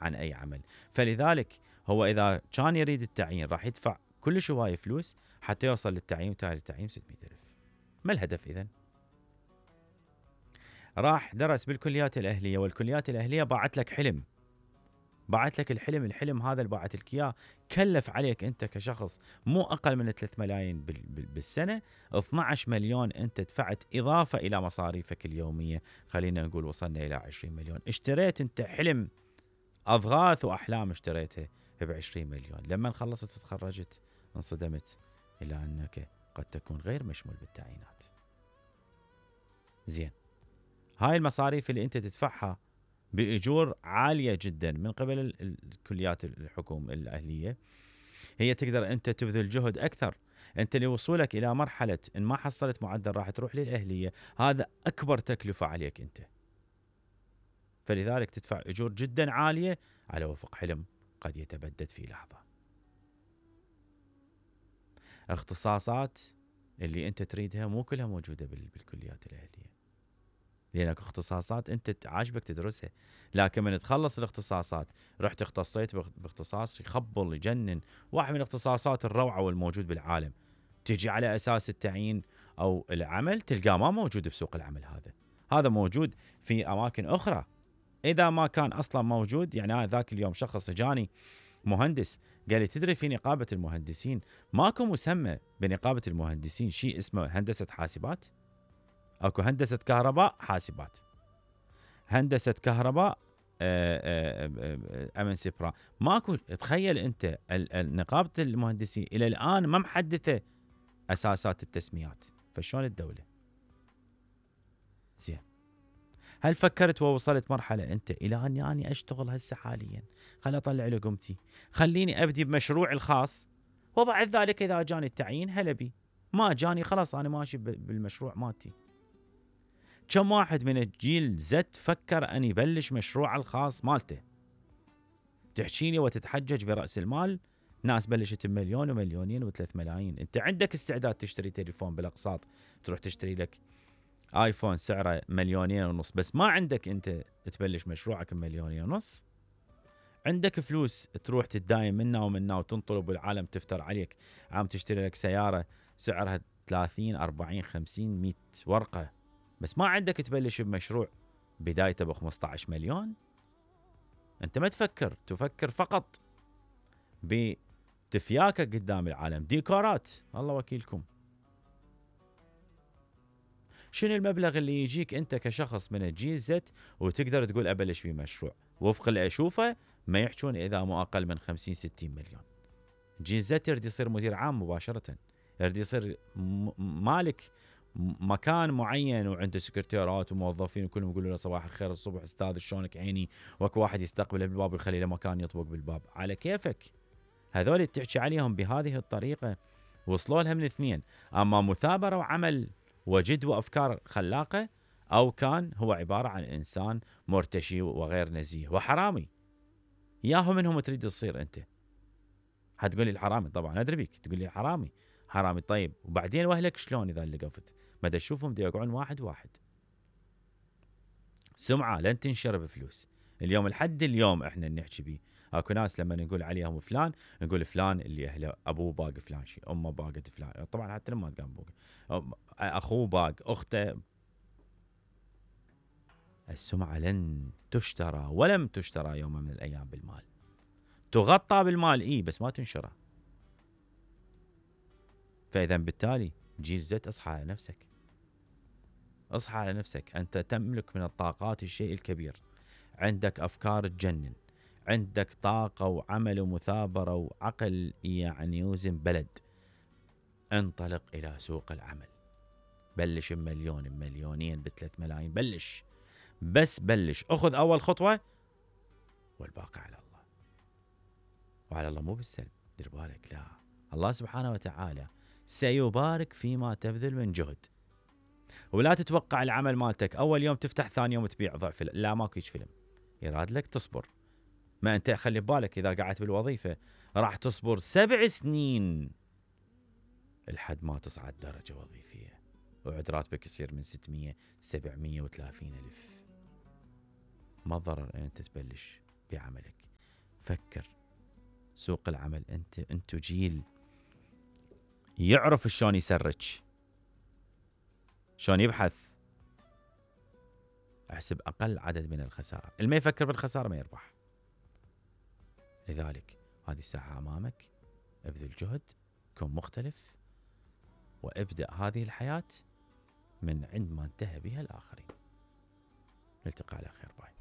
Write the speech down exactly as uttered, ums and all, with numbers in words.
عن أي عمل. فلذلك هو إذا كان يريد التعيين راح يدفع كلش هواية فلوس حتى يوصل للتعيين، وتالي التعيين ستمئة ألف. ما الهدف إذن؟ راح درس بالكليات الأهلية، والكليات الأهلية باعت لك حلم، باعت لك الحلم، الحلم هذا اللي باعت لك إياه كلف عليك أنت كشخص مو أقل من ثلاثة ملايين بالسنة، اثنعش مليون أنت دفعت إضافة إلى مصاريفك اليومية، خلينا نقول وصلنا إلى عشرين مليون. اشتريت أنت حلم، أضغاث وأحلام اشتريتها بعشرين مليون. لما خلصت وتخرجت انصدمت إلى أنك قد تكون غير مشمول بالتعيينات. زين، هاي المصاريف اللي أنت تدفعها بأجور عالية جدا من قبل الكليات الحكومة الأهلية، هي تقدر أنت تبذل جهد أكثر. أنت لوصولك إلى مرحلة إن ما حصلت معدل راح تروح للأهلية، هذا أكبر تكلفة عليك أنت. فلذلك تدفع أجور جدا عالية على وفق حلم قد يتبدد في لحظة. اختصاصات اللي أنت تريدها مو كلها موجودة بالكليات الأهلية، لأنك اختصاصات أنت عاجبك تدرسها، لكن من تخلص الاختصاصات رحت اختصيت باختصاص يخبل يجنن، واحد من الاختصاصات الروعة والموجود بالعالم، تجي على أساس التعيين أو العمل تلقاه ما موجود بسوق العمل. هذا هذا موجود في أماكن أخرى، إذا ما كان أصلا موجود. يعني أنا ذاك اليوم شخص جاني مهندس قال لي تدري في نقابة المهندسين ماكو مسمى بنقابة المهندسين شيء اسمه هندسة حاسبات؟ اكو هندسة كهرباء حاسبات، هندسة كهرباء امن سيبرا، ماكو. تخيل انت نقابة المهندسين الى الان ما محدثة اساسات التسميات، فشلون الدولة؟ زين، هل فكرت ووصلت مرحلة انت الى اني اني اشتغل هسه حاليا، خليني اطلع لقمتي، خليني ابدي بمشروعي الخاص، وبعد ذلك اذا جاني التعيين هلا بي، ما جاني خلاص انا ماشي بالمشروع مالتي. كم واحد من الجيل زد فكر أن يبلش مشروع الخاص مالته؟ تحكي لي وتتحجج برأس المال، ناس بلشت بمليون ومليونين وثلاث ملايين. أنت عندك استعداد تشتري تليفون بالأقساط، تروح تشتري لك آيفون سعره مليونين ونص، بس ما عندك أنت تبلش مشروعك بمليونين ونص. عندك فلوس تروح تتداين منا ومنا وتنطلب والعالم تفتر عليك، عم تشتري لك سيارة سعرها ثلاثين أربعين خمسين مئة ورقة، بس ما عندك تبلش بمشروع بدايته ب خمسة عشر مليون. انت ما تفكر، تفكر فقط بتفياكك قدام العالم، ديكورات، الله وكيلكم. شنو المبلغ اللي يجيك انت كشخص من الجيل زد وتقدر تقول ابلش بمشروع؟ وفق اللي اشوفه ما يحجون اذا مو اقل من خمسين ستين مليون. جيل زد يريد يصير مدير عام مباشرة، يريد يصير مالك مكان معين وعنده سكرتيرات وموظفين وكلهم يقولوا له صباح الخير الصبح استاذ شلونك عيني، وكو واحد يستقبله بالباب ويخلي له مكان يطبق بالباب. على كيفك. هذول تحكي عليهم بهذه الطريقة وصلوا لها من اثنين، اما مثابرة وعمل وجد وافكار خلاقة، او كان هو عبارة عن انسان مرتشي وغير نزيه وحرامي. ياهو منهم تريد تصير انت؟ حتقول لي الحرامي، طبعا ادري بيك تقول لي حرامي حرامي. طيب وبعدين واهلك شلون اذا اللي قفت؟ ما تشوفهم دي يقعون واحد واحد. سمعة لن تنشر بفلوس. اليوم لحد اليوم احنا نحكي بيه، اكو ناس لما نقول عليهم فلان نقول فلان اللي اهله ابوه باق فلان شيء، امه باقت فلان، طبعا حتى لما قام بوق اخوه باق، اخته. السمعة لن تشترى ولم تشترى يوم من الايام بالمال. تغطى بالمال اي بس ما تنشرى. فاذا بالتالي جيل زد اصحى على نفسك، اصحى على نفسك. انت تملك من الطاقات الشيء الكبير، عندك افكار تجنن، عندك طاقة وعمل ومثابرة وعقل يعني يوزن بلد. انطلق الى سوق العمل، بلش بمليون بمليونين بثلاث ملايين، بلش بس بلش، اخذ اول خطوة والباقي على الله. وعلى الله مو بالسلب، دير بالك، لا، الله سبحانه وتعالى سيبارك فيما تبذل من جهد. ولا تتوقع العمل مالتك اول يوم تفتح ثاني يوم تبيع ضعف، لا ماكو هيج فيلم. يراد لك تصبر. ما انت خلي ببالك اذا قعدت بالوظيفة راح تصبر سبع سنين لحد ما تصعد درجة وظيفية، وعد راتبك يصير من ستمية سبعمية وثلاثين الف. ما الضرر ان انت تبلش بعملك؟ فكر. سوق العمل انت انتو جيل يعرف شلون يسرج، شلون يبحث. احسب اقل عدد من الخسائر، اللي ما يفكر بالخساره ما يربح. لذلك هذه الساحه امامك، ابذل جهد، كن مختلف، وابدأ هذه الحياة من عند ما انتهى بها الآخرين. نلتقي على خير. باي.